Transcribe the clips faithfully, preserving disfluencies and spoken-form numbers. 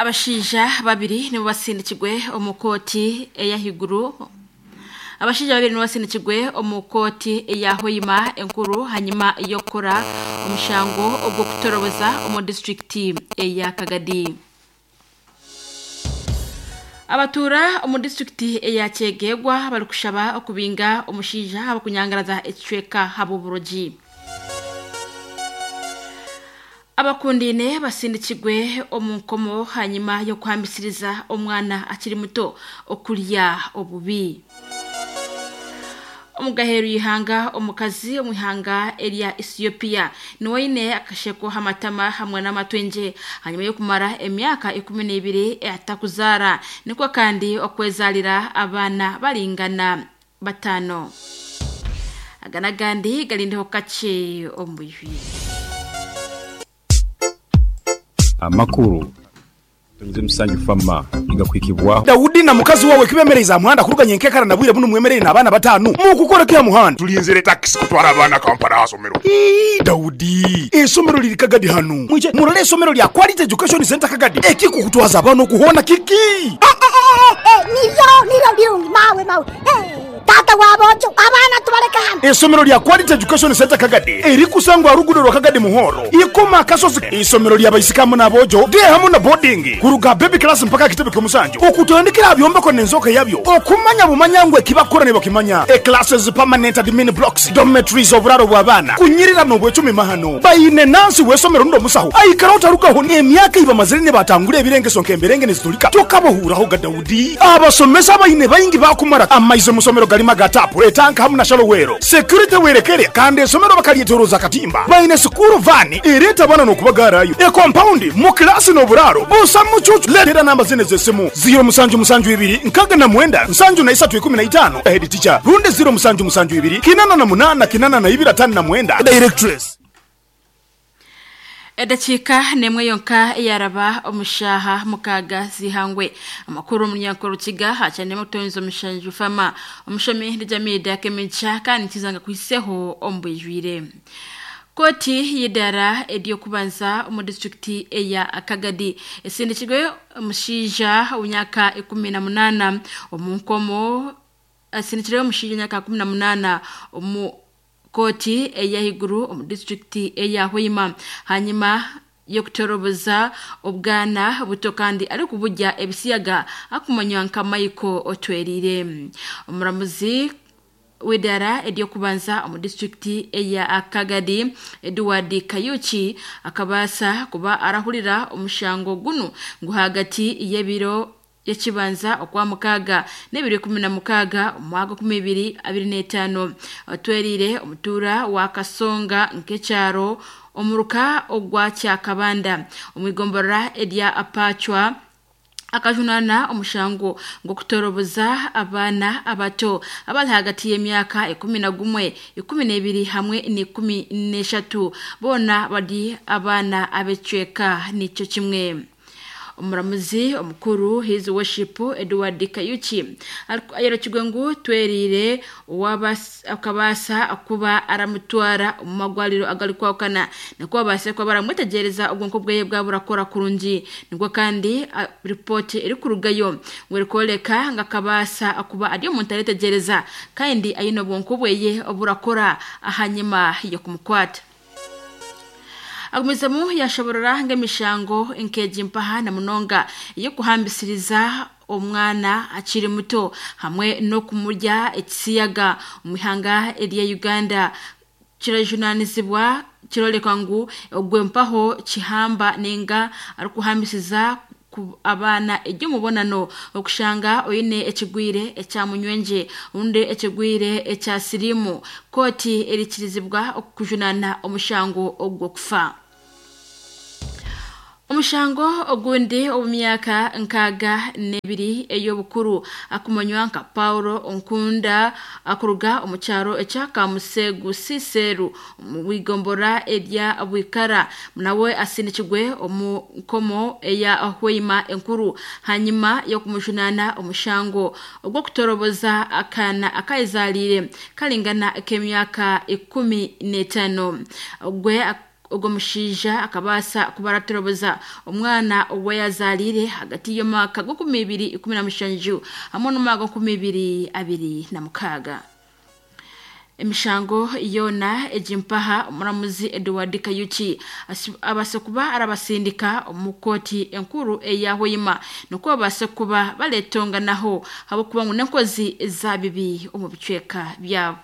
Abashaija babiri nibo basindikirwe omu kooti ey'ahaiguru. Abashaija babiri nibo basindikirwe omu kooti eya Hoima enkuru hanyuma y'okukora omushango ogw'okutoroboza omu disitulikiti eya Kagadi. Abatuura omu disitulikiti eya Kyegegwa barikushaba okubinga omushaija ahabw'okunyangaraza ekicweka ahabw'oburogi. Abakundiine basindikirwe omu nkomo hanyuma y'okuhambisiriza omwana akiri muto okurya obubi. Omugaheru y'ihanga, omukazi omu ihanga erya Ethiopia niwe aine akasheko h'amatama hamwe n'amatwengye hanyuma y'okumara emyaka ikumi n'ebiri atakuzaara, nikwo kandi okwezaalira abaana baringana bataano. Aga n'agandi garindeho kakye omu bwijwire. Amakuru Musanju Fama igakwikibwaho. Daudi na mukazi wawe kibemereza muhanda kuruganya enkekara na bwire buno mwemerere n'abaana batano mukukora kya muhanda. Tulinzire taxi kutwara abaana Kampala asomero. Ii, Daudi, esomero liri Kagadi hano. Mwije murole esomero lya Quality Education Center Kagadi. Ekikukutwaza abaana okuhona kiki? Eh, eh, eh, niryo niryo birungi mawe mawe. Eh, tata wabojo abaana tubaleka hano. Esomero lya Quality Education Center Kagadi erikusangwa rugudo rwa Kagadi Muhoro. Ikoma akasozi. Isomero lya baisikamu n'abojo de hamu na boarding kuruga baby class mpaka kitebe ky'omusanju. Okutandikira byombeko n'enzoka yabyo. Okumanya bumanya ngwe kibakora ne bakimanya. E classes, permanent admin blocks, dormitories, oburaro bw'abaana. Kunyirira n'obwecumi mahano. Bayine nansi w'esomero ndo musaho. Aikara otarugaho emyaka iba mazire ne batangura ebirengeso nk'emberenge nezitulika. Tokabohuraho ga Daudi. Abasomesa bayine bayingi bakumara amaize musomero galima gatapu etanka hamu na shalowero. Security werekere kandi esomero bakalyetoroza katimba. Bayine sukuru vani ereta bana n'okubagarayo. E compound mu klasi n'oburaro. Busa mucucu letera namba zine z'esimu zero musanju musanju ibiri nkaga na mwenda nsanju na isatu ikumi na itano head teacher runde zero musanju musanju ibiri kinana na munana kinana na ibiri atano na mwenda directress. Edakika nemwe yonka yaraba omushaha mukaga zihangwe. Amakuru omunyankoro Rukiga hacane mutonzo Mushanju Fama omushomi ndijamida kemicha kandi kizanga kuiseho ombwijwire. Koti y'idara eryokubanza omu disitulikiti eya Kagadi esindikirwe omushaija w'emyaka ikumi na munaana omu nkomo, asindikirwe omushaija w'emyaka ikumi na munaana omu koti ey'ahaiguru omu disitulikiti eya Hoima hanyuma y'okutoroboza obwana buto kandi arikuburya ebisiyaga akumanywa nka Michael Otwerire. Omuramuzi w'idara eryokubanza omu disitulikiti eya Kagadi Edward Kayuchi akabaasa kuba arahurira omushango gunu ngu hagati y'ebiro y'ekibanza okwa mukaaga n'ebiro ikumi na mukaaga omwaka kumi ibiri abiri n'etaano. Otwerire omutuura wa Kasonga nk'ekyaro omuruka ogwa Kyakabanda omwigomborora erya Apachwa akajunana omushango ng'okutoroboza abaana abato abali hagati y'emyaka ikumi na gumwe, ikumi n'ebiri hamwe n'ikumi n'eshatu, boona bari abaana ab'ekicweka nikyo kimwe. Omuramuzi omukuru His Worship Edward Kayuchi ayerekirwe ngu Twerire akabaasa kuba aramutwara omu magwariro agarikwahukana nikwo babaase kuba baramwetegyereza obwonko bweye bwaba burakora kurungi. Nikwo kandi ripooti erikurugayo ngu erikworeka ngu akabaasa kuba ari omuntu aretegyereza kandi aine obwonko bweye oburakora ahanyuma y'okumukwata. Agumizemu yashoborora ng'emishango nk'egi mpaha na munonga y'okuhambisiriza omwana akiri muto hamwe n'okumurya ekisiyaga omu ihanga erya Uganda kirajunanizibwa kiroreka ngu ogwe mpaho kihamba ninga arikuhambisiza abaana ery'omubonano okushanga oine ekigwire ekya munywenje rundi ekigwire ekya sirimu kooti erikirizibwa okujunana omushango ogw'okufa. Omushango ogundi omu myaka nkaaga n'ebiri ey'obukuru akumanywa nka Paulo Onkunda akuruga omu kyaro ekya Kamusegu Siseru omu bwigombora erya Bwikara nawe asindikirwe omu nkomo eya Hoima enkuru hanyuma y'okumujunana omushango ogw'okutoroboza akaana akayezaalire karingana k'emyaka ikumi n'etaano. Ogwe Ogwo mushaija akabaasa kubaratoroboza omwana owe yazaalire hagati y'omwaka gw'enkumi ibiri ikumi na mushanju hamwe n'omwaka gw'enkumi ibiri abiri na mukaaga. Emishango yona egimpaha omuramuzi Edward Kayuki abase kuba arabasindika omu kooti enkuru eya Hoima nukwo babase kuba baletonganaho habwokuba ngu n'enkozi za bibi omu bicweka byabo.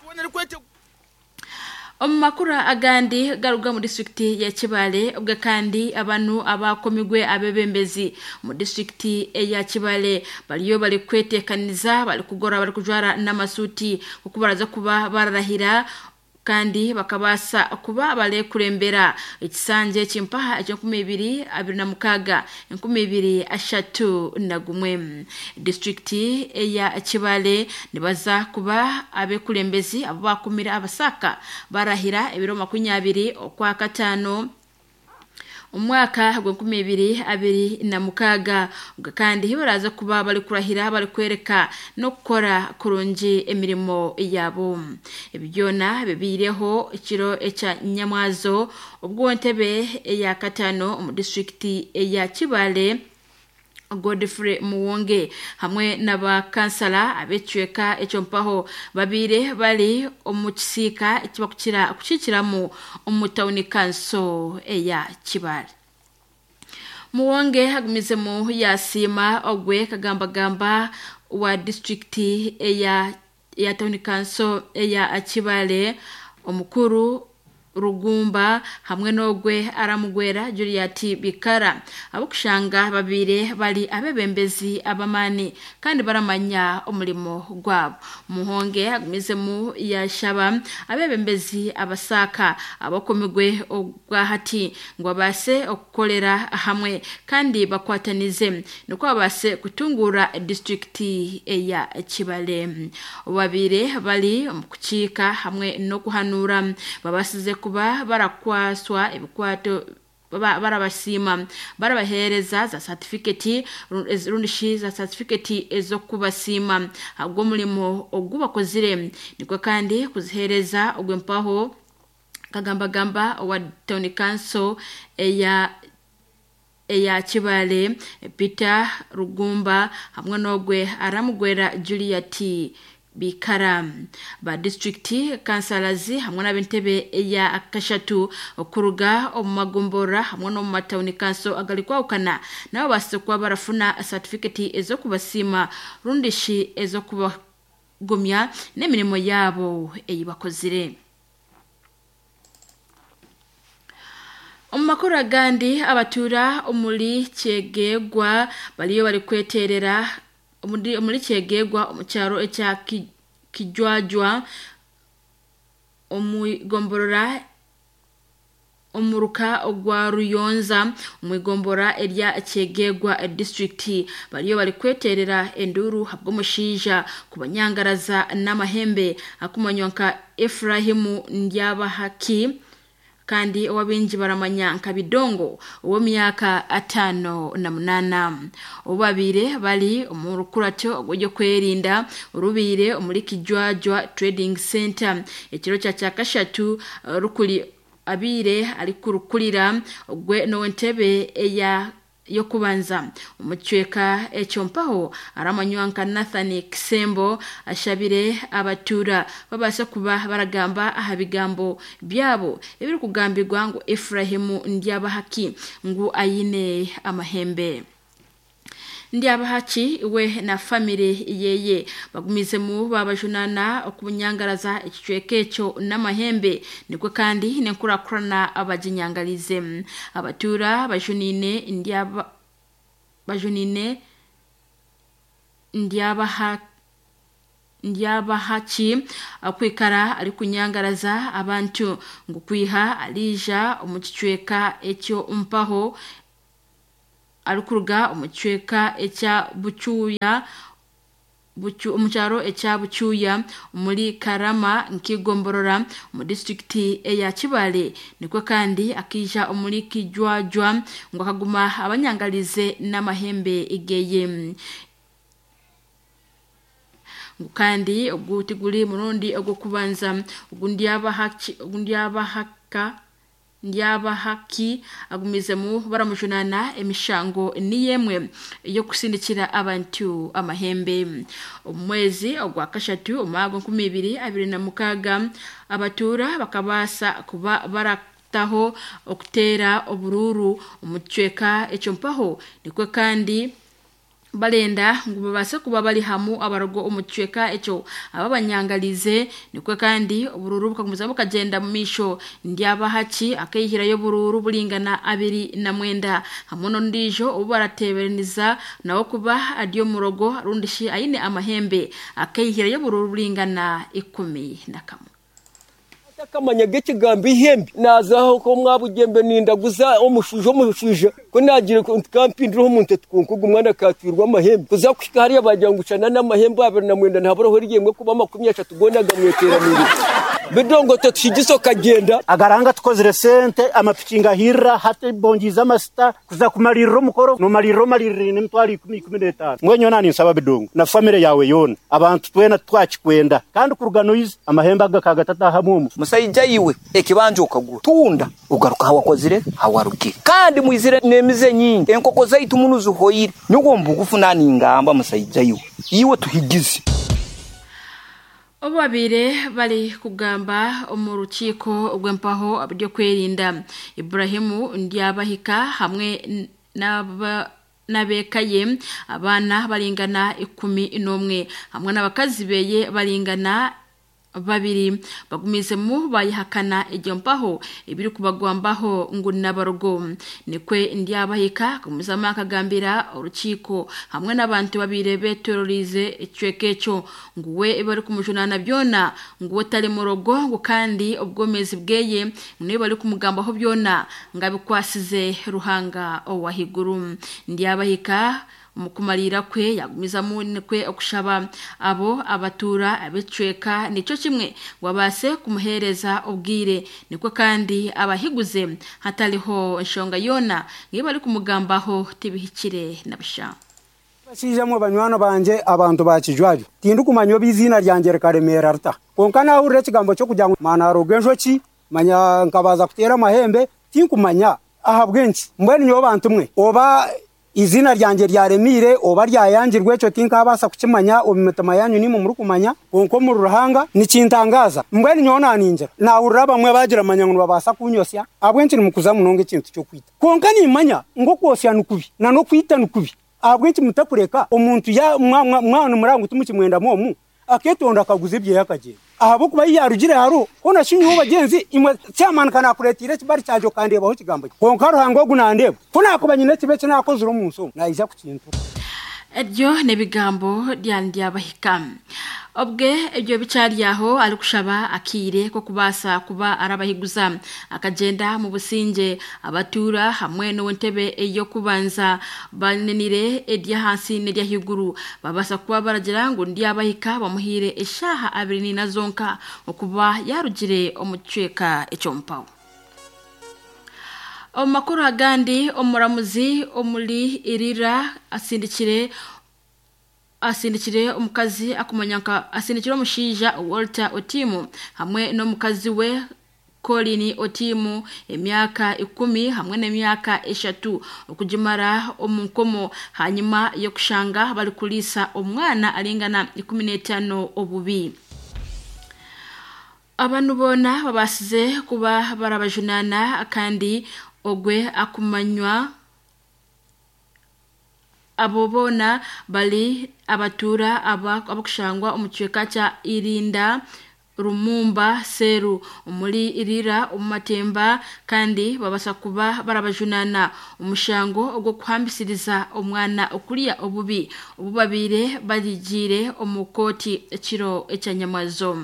Omu makuru agandi garuga mu disitulikiti ya Kibaale, obwe kandi abantu abakomigwe abebembezi mu disitulikiti eya Kibaale bariyo bari kwetekaniza, bari kugora, bari kujwara n'amasuti okubaraza kuba bararahira kandi bakabasa kuba balekurembera ekisanje ekimpaha eky'enkumi ibiri abiri na mukaaga enkumi ibiri ashatu na gumwe. Disitulikiti eya Kibaale nibaza kuba abekurembezi abo bakumira abasaka barahira ebiro makumyabiri okwa kataano omwaka gw'enkumi ibiri abiri na mukaaga, kandi hibaraza kuba bari kurahira bari kwereka n'okukora kurungi emirimo yabo. Ebi byona bibiireho ekiro ekya Nyamwazo obwo entebe eya kataano omu disitulikiti eya Kibaale Godfrey Muwonge hamwe n'abakansala ab'ekicweka ekyo mpaho babiire bari omu kisiika ekibakukira kukiikiramu omu tawuni kanso eya Kibaale. Muwonge agumizemu yasiima ogwe kagambagamba wa disitulikiti eya eya tawuni kanso eya Kibaale omukuru Rugumba hamwe n'ogwe aramugwera Juliet Bikara abokushanga babire bali abebembezi abamani kandi baramanya omulimo gwabo. Muhonge agumizemu yashaba abebembezi abasaka abakomigwe ogwahati ngo abase okukolera hamwe kandi bakwatanize nukwo abase kutungura disitulikiti eya Kibaale. Babire bali omu kukiika hamwe n'okuhanura babasize kuba barakwaswa ebikwato barabasiima barabaheereza za certificate rundishi za certificate ez'okubasiima agw'omulimo ogubakozire, nikwo kandi kuziheereza ogw'empaho kagambagamba owa town council eya eya Kibaale Peter Rugumba hamwe n'ogwe aramugwera Juliet Bikara. Ba district councillors hamwe n'ab'entebe eya kashatu okuruga omu magombora hamwe n'omu matawuni council agali kwawukana nabo basize kuba barafuna certificate ez'okubasiima rundishi ez'okubagumya n'emirimo yaabo ei bakozire. Omu makuru agandi abatuura omuri Kyegegwa bariyo bari kweterera omuri Kyegegwa omu kyaro ekya Kijwajwa omwigomborora omuruka ogwa Ruyonza omwigombora erya Kyegegwa district bariyo bari kweterera enduru habw'omushaija kubanyangaraza n'amahembe akumanywa nka Efrahimu Ndyabahaki kandi owabingi baramanya nka Bidongo ow'emyaka atano na munana. Obabire bali omu rukurato ogw'okwerinda orubiire omuri Kijwajwa Trading Center ekiro kya kyakashatu rukuli abiire ari kurukurira ogwe n'entebe eya yokubanza omucweka ekyo mpaho aramanywa nka Nathan Kisembo ashabire abatura babase kuba baragamba aha bigambo byabo ebiri kugambirwa ngu Efrahimu Ndyabahaki ngu ayine amahembe. Ndyabahaki we na family yeye bagumizemu babajunana okubunyangaraza ekicweka ekyo n'amahembe, nikwo kandi nenkurakurana abaginyangalize. Abatura bajunine ndyaba bajunine Ndyabaha Ndyabahaki akwikara ari kunyangaraza abantu ngu kwiha alija omu kicweka ekyo mpaho arikuruga omu kicweka ekya Bucuya bucu omukyaro ekya Bucuya muri Karama nkigomborora mu disitulikiti eya Kibaale, nikwo kandi akija omuri Kijwajwa ngo akaguma abanyangalize n'amahembe igeye. Kandi ogu tiguri murundi ogw'okubanza ogu Ndyabahaki ogu Ndyabahaka Ndyabahaki agumizemu baramujunana emishango niyemwe yo kusindikira abantu amahembe. Omwezi ogwa kashatu omwago nkumi ibiri abiri na mukaga abatura bakabasa kuba barataho okutera obururu omucweka ekyo mpaho nikwe kandi balenda ngu babase kuba bali hamu abarogo omucweka ekyo ababanyangalize nikwe kandi obururu bukagumiza bukagenda mu misho. Ndyabahaki akeyihirayo bururu bulingana abiri na mwenda hamwe n'ondijo obu baratebereniza nawo kuba adyo murogo rundishi ayine amahembe akeyihirayo bururu bulingana ikumi na kamwe. Akamanya g'ekigambo ihembe nazaho ko mwabugembe nindaguza omushujo omushujo ko nagira kampindira omuntu tukunkugu mwana katwirwa amahembe kuza kushika hariya bagira ngucana n'amahembe abiri na mwenda ntaburaho ryemwe kuba makumi atatu gonaga mweteranire bidongo tutushigiso kagenda agaranga tukozire sente amapikinga hirra hati bongiza amasita kuza kumalirira omukoro nomalirira omalirire n'emitwaro ikumi ikumi n'etaano mbwenyo nani nsaba bidongo na famire yawe yoona abantu twena twakikwenda kandi kuruga noizi amahembe aga kagatatahamu omu musaija iwe ekibanja okagura tunda ugaruka hawakozire hawarugire kandi mwizire n'emize nyingi enkoko zaitu muno zihoyire nyogo mbugufu nani ngamba musaija iwe iwe tuhigize. Obabire bali kugamba omu rukiiko ogw'empaho byo kwerinda Ibrahimu Ndyabahika hamwe n'aba nabekaye abana balingana ikumi n'umwe hamwe n'abakazi beye balingana babiri bagumizemu bayihakana iryo mpaho ibiri kubagwambaho ngo nabarogo nikwe Ndyabahika kumuzama akagambira urukiko hamwe n'abantu babire beterorize icweke cyo nguwe bari kumujunana byona nguwe tari murogo ngo kandi ubwomezi bweye niwe bari kumugambaho byona ngabikwasize Ruhanga owahiguru. Ndyabahika mukumalira kwe yagumizamu nikwe okushaba abo abatura abecweka nico kimwe wabase kumuhereza ubwire nikwe kandi abahiguze hatariho nshonga yona ngiye bari kumugambaho tibihikire nabisha. Bashijamwe banywana banje abantu bakijwaju tindu kumanya bizina ryanje rikaremera ruta konka nahurira ekigambo cyo kugira ngo mana aroga enjoki manya nkabaza kutera amahembe tinkumanya ahabwenki mbwenu nyowe bantu mwe oba izina ryanje ryaremire oba ryayangirwe ekyo tinkabasa kukimanya omu mitima yanyu nimwe murikumanya konka omu Ruhanga nikintangaza mbwenu nyowe naningira nahurira bamwe bagira manya ngu nibabasa kunyosya ahabwenki nimukuza munonga ekintu kyokwita konka nimanya ngu okwosya nikubi na n'okwita nikubi ahabwenki mutakureka omuntu mwana murangu tumukimwendamu omu aketonda akaguza ebyeya akagyenda ahabwokuba yarugire haro hona shinyiho bagenzi imwe kyamanuka nakuretire ekibari kyanje okandebaho ekigambo konka Ruhanga ogu nandeba ko nakuba nyine ekibe eki nakozire omu nsi omu naija kukintura. Ebyo n'ebigambo bya Ndyabahika. Obwe ebyo bicaryaho ari kushaba akire ko kubasa kuba arabahiguza akagenda mu businge abatura hamwe n'entebe eyo kubanza banenire edya hansi n'edya higuru babasa kuba baragira ngo Ndyabahika bamuhire eshaha abiri ni nazonka okuba yarugire omucweka ekyo mpawo. Omakuru agandi omuramuzi omuli irira asindikire asindikire omukazi akumanyanka asindikire omushinja Walter Otimu hamwe n'omukazi we Colin Otimu emyaka ikumi hamwe n'emyaka eshatu okugimara omunkomo hanyuma yo kushanga bali kulisa omwana alingana ikumi n'etano obubi. Abantu bona babasize kuba barabajunana kandi ogwe akumanywa abo bona bali abatura aba abakushangwa omucweka kya Irinda Rumumba Seru omuli Irira omumatemba kandi babasa kuba barabajunana omushango ogwo kuhambisiriza omwana okulia obubi obubabire baligire omukoti ekiro ekyanyamazo.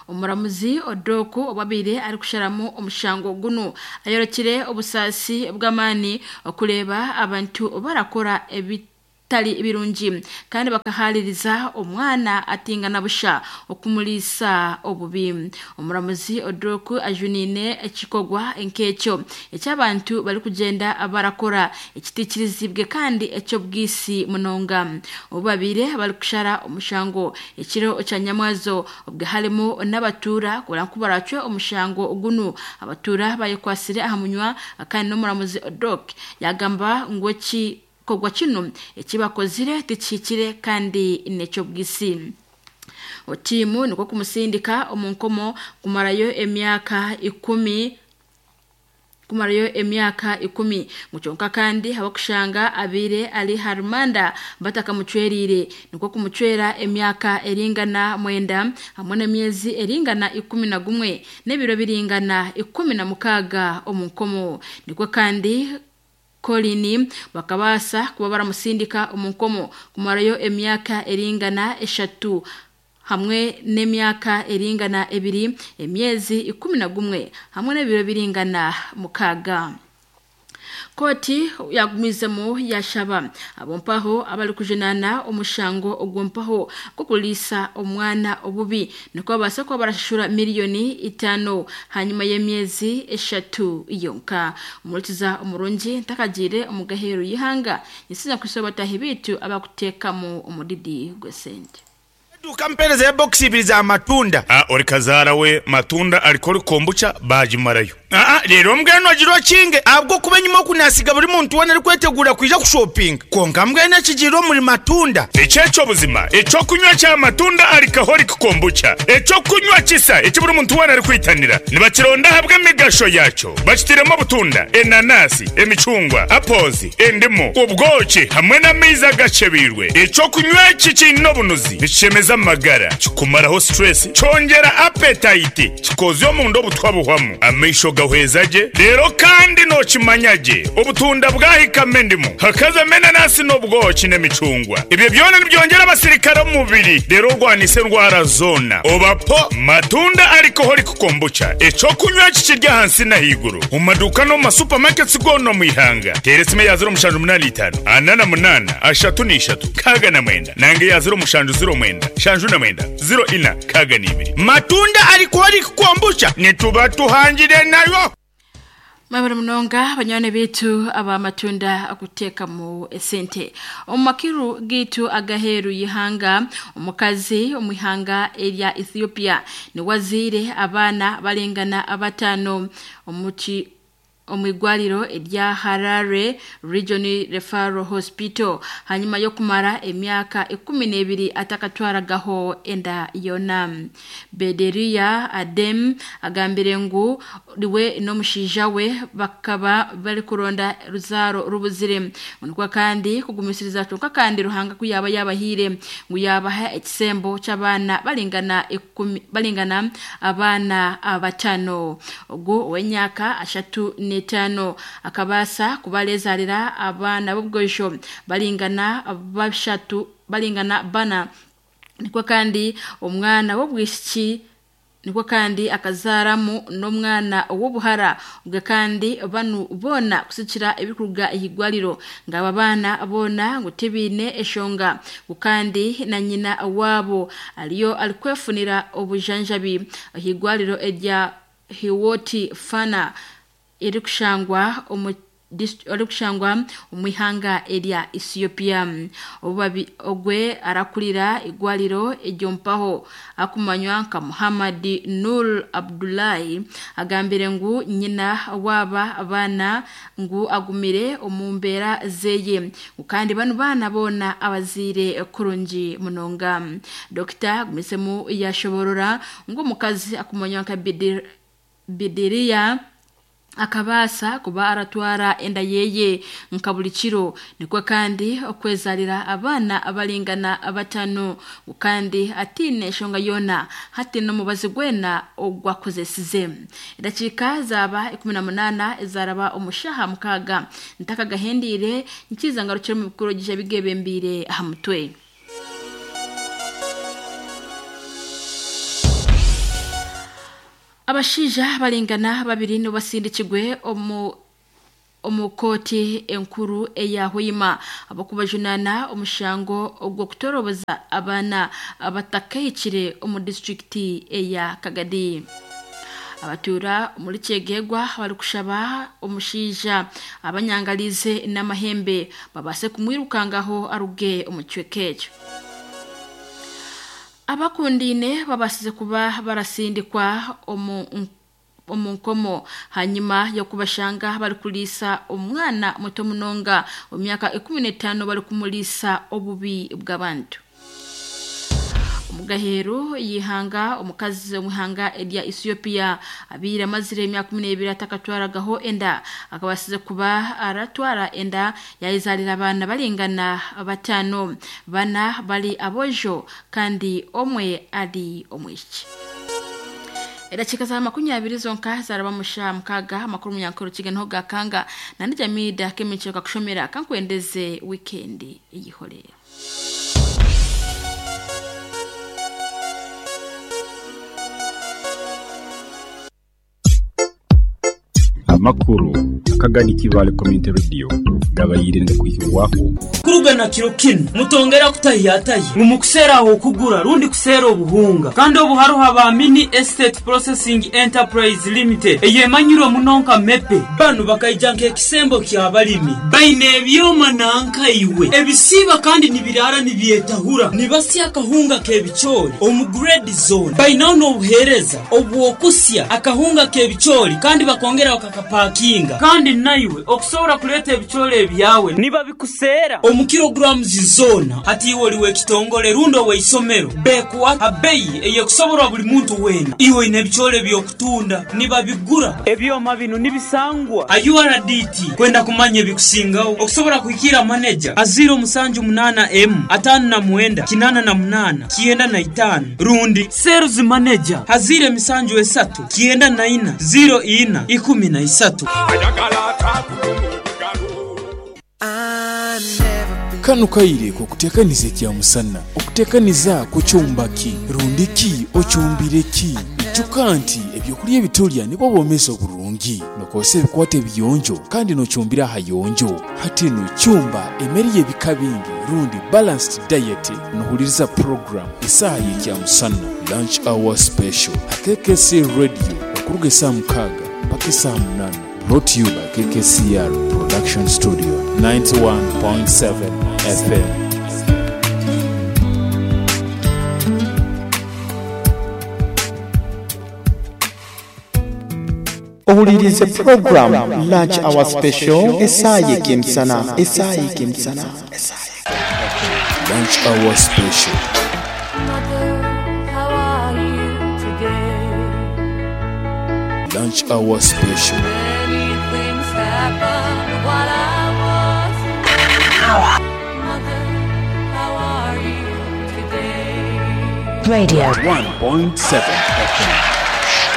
Omuramuzi Odoku obabire ari kusharamu omushango guno ayorokire obusasi bw'amani okuleba abantu barakora ebi tali birungi kandi bakahaliriza omwana atingana busha okumulisa obubi. Omuramuzi Odroku ajunine ekikogwa enkekyo ekyabantu bali kugenda barakora ekitikirizibwe kandi ekyobwisi munonga. Obabire bali kushara omushango ekiro kyanyamwazo obwe harimo n'abatura kurankubaracwe omushango gunu abatura bayekwasire aha munywa kandi n'omuramuzi Odrok yagamba ngo ki kogwa kino ekibakozire tikikire kandi nekyobwisi. Otimu niko kumusindika omunkomo kumarayo emyaka ikumi kumarayo emyaka ikumi muchonka kandi habakushanga abire ali harumanda batakamucwerire niko kumucwera emyaka eringana mwenda hamwe n'emyezi eringana ikumi na gumwe n'ebiro biringana ikumi na mukaga omunkomo. Niko kandi Kolini bakabasa kuba baramusindika omunkomo kumarayo emyaka eringana eshatu hamwe n'emyaka eringana ebiri emyezi ikumi na gumwe hamwe n'ebiro biringana mukaga. Koti yagumizemu yashaba abompaho abali kujenana omushango ogwompaho kukulisa omwana obubi niko basa ko barashura miliyoni itano hanyuma y'emyezi eshatu yonka. Umurikiza omurungi ntakagire omugahero yihanga nisiza kusobata hibitu abakutekamo omudidi gwesente. Dukampereza box ibiri za matunda. Ah, ori kazara we matunda alikori kombucha bajimarayo. Ah, rero mbweno agiro kinge abwo kuba nyuma kunasiga buri muntu wana ari kwetegura kwija ku shopping. Konka mbwene kigiro muri matunda. Echecho buzima, echo kunywa cha matunda alikahori kombucha. Echo kunywa kisa, echo buri muntu wana ari kwitanira. Nibakironda habwe migasho yacho. Bakitiremo butunda, enanasi, emicungwa, apples, endimu, ubwoki hamwe n'amiza gacebirwe. Echo kunywa kikino bunuzi. Bishemeza magara kikumaraho stress cyongera appetite kikozyo mu ndo butwabuhwamu amesho gahwezaje rero kandi no kimanyaje ubutunda bwahikame ndimo hakaza menanasi n'ubwoki n'emicungwa ibyo byona nibyongera abasirikare mu mubiri rero rwanise ndwara zona obapo matunda alcoholic kombucha eco kunywa kikirya hansi na higuru mu maduka no mu supermarkets gono mu ihanga teresime ya zero mushanju munani itanu anana munana ashatu n'ishatu kaga na mwenda nange ya zero mushanju zero mwenda shanju na mwenda zero ina kaga n'ibiri matunda alcoholic kombucha nituba tuhangire nayo. Mwabara munonga banyone bitu aba matunda akuteka mu esente. Omumakiru gitu agaheru yihanga omukazi omwihanga erya Ethiopia ni wazire abana balengana abatano omuchi omwigwaliro erya Harare Regional Referral Hospital hanyuma yo kumara emyaka ikumi n'ebiri atakatwaragaho enda yona. Bederia Adem agambire ngu liwe n'omushaija we bakaba bari kuronda ruzaro rubuzire nukwa kandi kugumisiriza tunka kandi ruhanga kuyaba yabahire ngu yabaha ekisembo cy'abana balingana ikumi balingana abana abatano ogwo wenyaka ashatu netano akabasa kubalezalira abana b'ubwosho balingana bashatu balingana bana nikwa kandi omwana w'obwishiki nikwa kandi akazaramu n'omwana w'obuhara ubwo kandi banu bona kusikira ebikuruga ihigwaliro ngaba bana bona ngo tibine eshonga kandi na nyina wabo aliyo alikwefunira obujanjabi ihigwaliro erya Hiwoti Fana iri kushangwa omu iri kushangwa omwihanga erya Ethiopia. Obubabi ogwe arakulira igwaliro ejyompaho akumanywa nka Muhammad Nur Abdullahi agambire ngu nyina waba abana ngu agumire omumbera zeye kandi banu bana bona abazire kurungi munonga. Dokita gumisemu yashoborora ngu omukazi akumanywa nka Bidiriya akabasa kuba aratwara enda yeye nka buli kiro nikwo kandi okwezalira abana abalingana abatano kandi atine eshonga yona hati n'omubazi gwena ogwakozesize. Edakika zaba ikumi na munana ezaraba omushaha mukaga ntakagahendire nkiza ngarukire mu bikuru gije bigebembire aha mutwe. Abashija balingana babiri no basindikigwe omu omu kooti enkuru eya Hoima abokubajunana omushango ogw'okutoroboza abaana abatakahikire omu disitulikiti eya Kagadi. Abatura muri Kyegegwa bari kushaba omushaija abanyangalize n'amahembe babase kumwirukangaho aruge omu kicweka ekyo. Abakundine babasize kuba barasindikwa omu omu nkomo hanyuma yo kubashanga bari kulisa omwana muto munonga mu myaka ikumi n'etaano bari kumulisa obubi bw'abantu. Omugaheru yihanga omukazi omuhanga erya Ethiopia abira amazire emyaka kumi n'ebiri atakatwaragaho enda akabasize kuba aratwara enda yayizalira abaana balingana batano, bana bali abojo kandi omwe ali omwishiki. Edachika za makumyabiri zonka zaraba musha mukaga amakuru munyankoro kiganho gakanga na ndijamida kemicho kakushomera kankwendeze weekend eyihorera. Amakuru akagani Kibale Community Radio gabayirinde kuhibwaho kurugana kiro kino mutongera kutahiyataye mumukusera aho kugura rundi kusera obuhunga kandi obuharuha ba Mini Estate Processing Enterprise Limited eyemanyiro munonka mepe banu bakaijanka ekisembo kya balimi baine ebyoma nanka iwe ebisiba kandi nibirara nibyetahura nibasya akahunga kebichori omu grade zone bainaho n'obuhereza obwokusya akahunga kebichori kandi bakongera bakakapakinga kandi naiwe okusobora kuleta ebichori ebyawe niba bikusera omu kilograms zona hati iwe oliwe ekitongole rundo weisomero bekuwa abeyi eyekusoborwa buli muntu wena iwe ine ebichori byokutunda niba bigura ebyoma bino nibisangwa a U R D T kwenda kumanya ebikusingaho okusobora kuhikira manager aziro musanju munana M atano na mwenda kinana na munana kienda na itano rundi sales manager hazire misanju esatu kienda na ina zero ina ikumi na isatu. Kano kaire ko kutekaniza kya musana okutekaniza kucyumbaki rundiki ocyumbireki ijuka nti ebyokulya ebitulya nibo bomeza oburungi nokose ebikwate biyonjo kandi nocyumbira hayonjo hati no cyumba emeri y'ebika bingi rundi balanced diet nohuliriza program isaha y'ekya musana lunch hour special K K C Radio okuruga saa mukaga mpaka saa munana. Brought to you by K K C R Production Studio, ninety-one point seven F M. Ohulirize program Lunch Hour Special esaye kimsana esaye kimsana Lunch Hour Special. Mother, how are you today? Lunch Hour Special. Many things happened while I was away. Mother, how are you today? Radio one point seven F M.